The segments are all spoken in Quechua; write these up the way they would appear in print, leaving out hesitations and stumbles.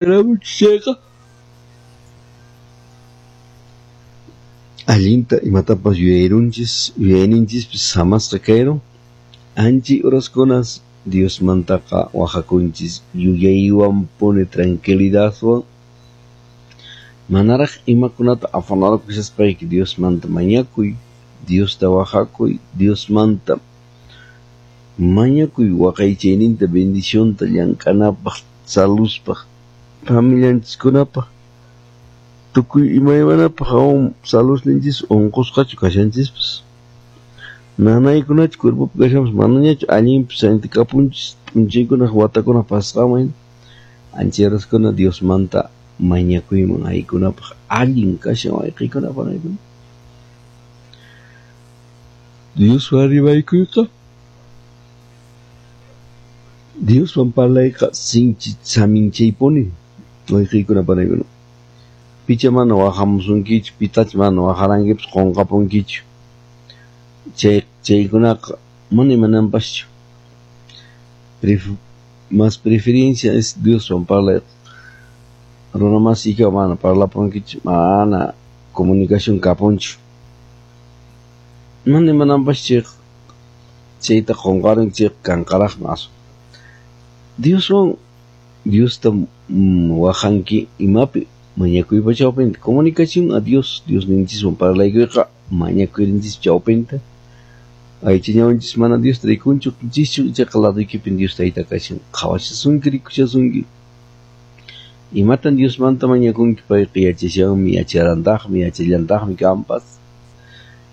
Chayqa allinta imatapas yuyayrunchis, yuyayninchispis samasqa kayrun. Anchay uraskunas Diosmantaqa wahakunchis yuyaywanpuni tranquilidadwan. Manaraq imakunata afanarakushaspayki Diosmanta mañakuy, Diosta wahakuy, Diosmanta mañakuy waqaychayninta bendicionta llank'anapaq, saluspaq, familianchiskunapaq, tukuy imaymanapaq aún salusninchis unqusqachu kashanchispas. Nanaykunachu cuerpopi kashanpas manañachu allinpis kapunchis p'unchaykunaq watakunaq pasasqanman anchay uraskuna Diosmanta mañakuyman aykunapaq allin kashan wayqiykuna panaykuna. Dioswan rimaykuyqa Dioswan parlayqa sinchi saminchaypuni wayqiykuna panaykuna. Picha mana wahamusunkichu, pitachu mana waharankipas qunqapunkichu. Chaykunaqa mana imananpaschu. Más preferencia es Dioswan parlayqa. Runa masiykiwan mana parlapunkichu, mana comunicación kapunchu. Mana imananpaschu chayqa chayta qunqarunki chayqa kanqaraqmi aswan. Dioswan Diosta wahanki imapi mañakuypa chawpinta comunicación a Dios, Diosninchiswan parlaykuyqa mañakuyninchis chawpinta. Aycha ñawinchis mana Diosta rikunchu chischu ichaqa laduykipin Dios tayta kashan qhawashasunki rikushasunki. Imatan Diosmanta mañakunki payqa yachashanmi yacharantaqmi yachallantaqmi kanpas.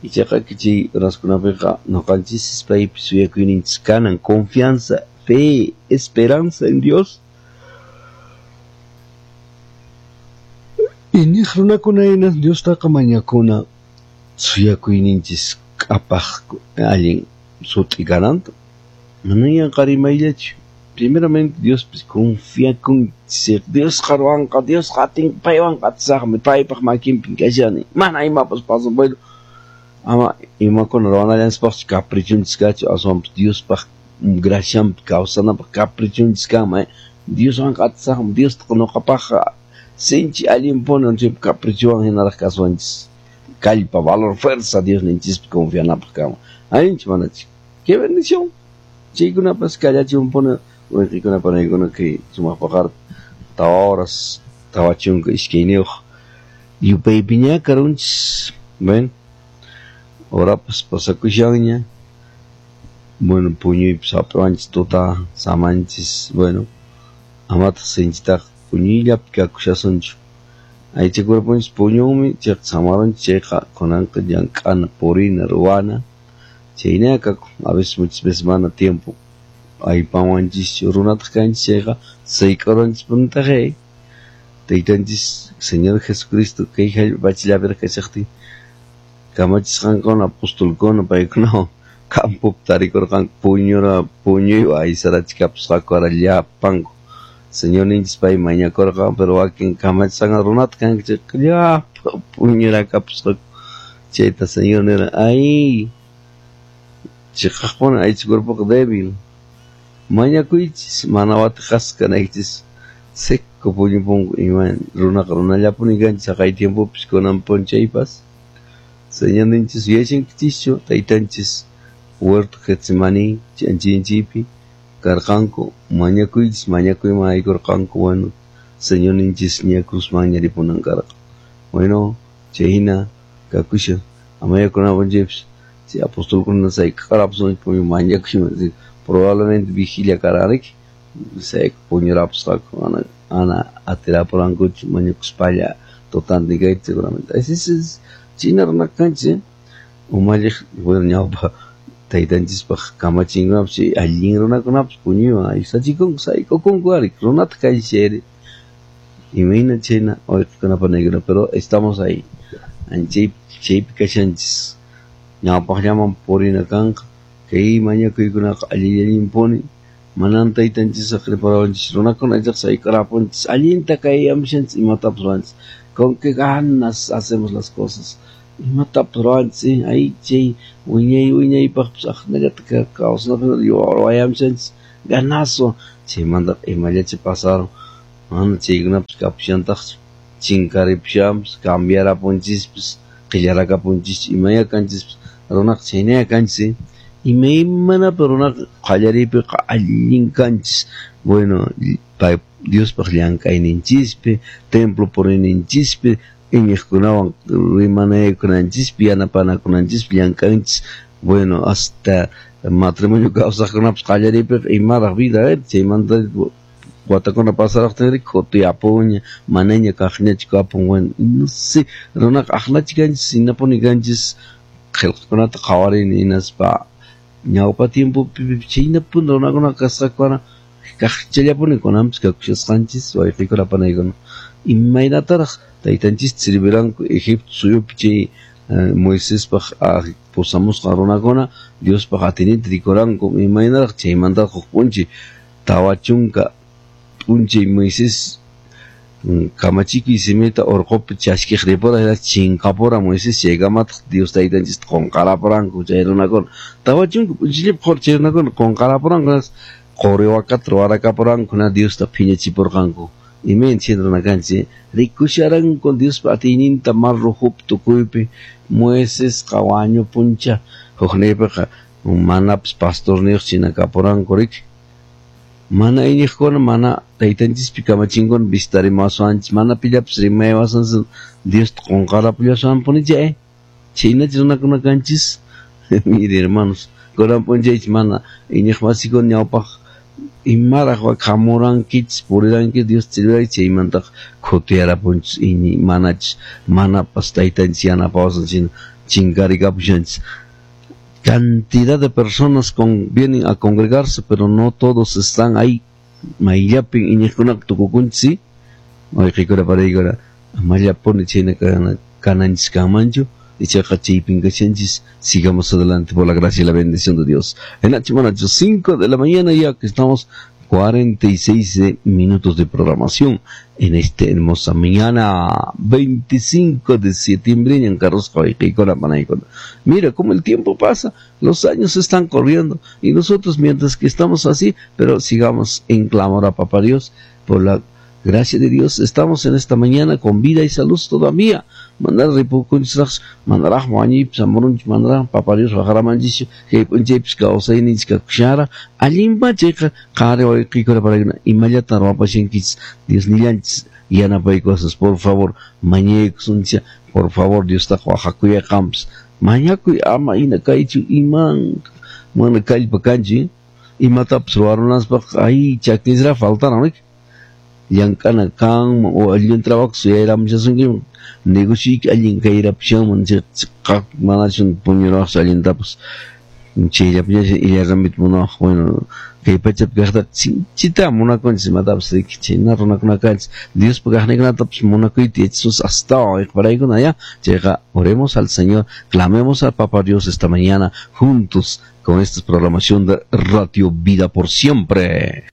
Ichaqa chay uraskunapiqa ñuqanchis paypi suyakuyninchis kanan confianza, fe, esperanza en Dios. Iñiq runakuna hina Diostaqa mañakuna suyakuyninchis k'apaq allin sut'i kananta. Mana yanqa rimayllachu. Primeramente Diospis confiakunchis Diosqa ruwanqa, Diosqa atin paywanqa atisaqmi, paypaq makinpin kashani. Mana imapas pasan, bueno, ama imakuna ruwanallanchispaqchu caprichunchis kachu, aswanpas Diospaq gracianpi kawsanapaq caprichunchis kanman, Dioswanqa atisaqmi, Diostaqa ñuqapaqqa sinchi allinpuni chay caprichuwan hinaraq kasuwanchis. Kallpa, valor, fuerza Diosninchispi confianapaq kanman. Allinchu manachu? ¡Qué bendición! Chaykunapas kallachunpuni wayqiykuna panaykuna kay sumaq paqarpi tawa horas 42 yupaypiña karunchis. Bueno, horapas pasakushanña. Bueno, puñuypis hap'iwanchis tuta samanchis. Bueno, amataq sinchitaqa puñuyllapi kakushasunchu. Aycha cuerponchis puñunmi chayqa samarunchis chayqa kunanqa llank'ana, purina, ruwana. Chaynaqa kakun. A veces muchas veces mana tiempo aypanwanchischu runataq kanchis chayqa sayk'uranchispunitaq Taytanchis Señor Jesucristo kay hallp'a pachallapiraq kashaqtin kamachisqankuna apostolkuna paykunawan campopi tarikurqanku puñuywan aysarachikapusqaku ara llapanku. Señorninchis pay mañakurqan, pero wakin kamachisqanqa runata kanku chayqa llapa puñurakapusqaku. Chayta Señor nirqan, ay chiqaqpuni aycha cuerpoqa débil. Mañakuychis mana watiqasqa kanaykichis. Seco puñupunku ima runaqa runallapuni kanchis haqay tiempopis kunan p'unchaypas. Señorninchis yuyashankichischu taytanchis huerto Getsemaní ch'anchinchiypi karqanku mañakuychis mañakuyman aykurqanku. Bueno, Señorninchis ña cruzmanña ripunan karqa. Bueno, chayhina kakushan amaya kunan p'unchaypis chay apostolkuna sayk'arapusqanku mañakuyman probablemente vigilia karqanriki puñurapusqaku mana atirapurankuchu mañakuspalla tutantin kayta seguramente. Así es, china runa kanchis umalliq bueno ñawpa taytanchispaq kamachinkunapas chay allin runakunapas puñuywan aysachikunku sayk'ukunku ari runataq kanchis chayri imayna chayna wayqikuna panaykuna, pero estamos ahí chaypi kashanchis ñawpaqllaman purina kanqa kay mañakuykunaqa allillallinpuni manan taytanchis saqriparawanchis runakuna ichaqa sayk'arapunchis allinta kayyamushanchis imatapas ruwanchis con qué ganas hacemos las cosas imatapas ruwanchis ay chay wiñay wiñaypaqpas aqnallata kawsanapaq ruwayamushanchis ganazo chaymantaqa imallachi pasaron Mana chaykunapas kapushantaqchu, chinkaripushanpas, cambiarapunchispas, qillarakapunchis, imaya kanchispas, runaqa chaynaya kanchis, imaymanapi runaqa qallariypiqa allin kanchis. Bueno, Diospaq llank'ayninchispi, templo puriyninchispi, iñiqkunawan rimanaykunanchispi, yanapanakunanchispi llank'anchis. Bueno, hasta matrimonio kawsaqkunapas qallariypiqa imaraq vida, chaymanta watakuna pasaraqtinri khutiyapuña, manaña kaqñachu kapun. Bueno, no sé, runaqa aqnachi kanchis, hinapuni kanchis. Qillqakunata qhawarini hinaspa ñawpa tiempopi chaynapuni runakuna kasqakuna kaqchallapuni kunanpis kakushasqanchis wayqiykuna panaykuna. Imaynataraq taytanchista sirviranku Egipto suyupi chay Moisespaq pusamusqan runakuna Diospaq atiyninta rikuranku, imaynaraq chaymantaqa huk p'unchay 40 p'unchay Moisés kamachikuy simita urqupi chaskiq ripura chinkapura Moisés chaykamataq Dios taytanchista qunqarapuranku chay runakuna. 40 p'unchayllapi qhur chay runakuna qunqarapuranku, quri wakata ruwarakapuranku, Diosta phiñachipurqanku. Imayna chay runa kanchis, rikusharanku Diospa atiyninta mar Rojopi tukuypi. Moisesqa wañupuncha, hukniypiqa manapas pastorniyuq china kapuranku riki. Mana iñiqkuna, mana taytanchispi kamachinkuna vistarimaswanchis, mana pillapis rimaywasanchis, Diosta qunqarapullasanpuni chay. Chaynachu runakuna kanchis. Mire, hermanos, kunan p'unchaychis mana iñiqmasikuna ñawpaq imaraq hamurankichis, purirankichis, Diosta sirvirankichis, chaymantaqa khutiyarapunchis, manachis manapas taytanchis yanapawasanchis chinkarikapushanchis. Cantidad de personas vienen a congregarse, pero no todos están ahí. Mayllapin iñiqkunaqa tukukunchis, wayqiykuna panaykuna, amallapuni chayna kananchis kanmanchu, ichaqa chaypin kashanchis. Sigamos adelante por la gracia y la bendición de Dios. En H, 5 de la mañana ya que estamos 46 minutos de programación en esta hermosa mañana 25 de septiembre en Carlos. Mira cómo el tiempo pasa, los años están corriendo y nosotros mientras que estamos así, pero sigamos en clamor a Papá Dios. Por la gracia de Dios estamos en esta mañana con vida y salud todavía. Mandar ripukunchisraq, mandaraq wañuypis amurunchis, mandaraq Papá Dios waqaramanchis, kay p'unchaypis kawsayninchis kakushara, allinpa chayqa qhari wayqiykuna panaykuna imallatan ruwapashankichis, Dios nillanchis yanapaykuwasas, por favor mañaykusunchis, por favor Diostaqa waqakuyaqanpas, mañakuy ama hina kaychu, iman mana kallpa kanchu, imatapas ruwarunaspaq ay chakinsraq faltaran riki. Llank'ana kanman o allin trabajo suyayramushasunkiman, negocioyki allin kayrapushanman, manachun puñurawaqchu allintapas, chayllapiñachu illarramita munawaq. Bueno, kay pachapi kaqtaqa sinchita munakunchis imatapas riki, chayna runakuna kanchis, Diospa kaqninkunatapas munakuyta yachasunchis astawan wayqiparaykuna ya. Chayqa oremos al Señor, clamemos al Papá Dios esta mañana juntos con esta programación de Radio Vida por Siempre.